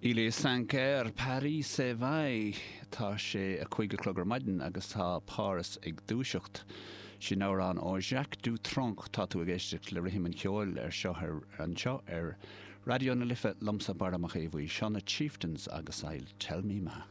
Il est cinq heures, Paris s'éveille. Tá sé a 5 a chlog ar maidin agus tá Páras ag dúiseacht. Sin amhrán ó Jacques Dutronc. Tá tú ag éisteacht le Rithim an Cheoil ar seo ar anseo ar Raidió na Life liomsa Barra Mac Aodha Bhuí. Seo na Chieftains agus I'll Tell Me Ma.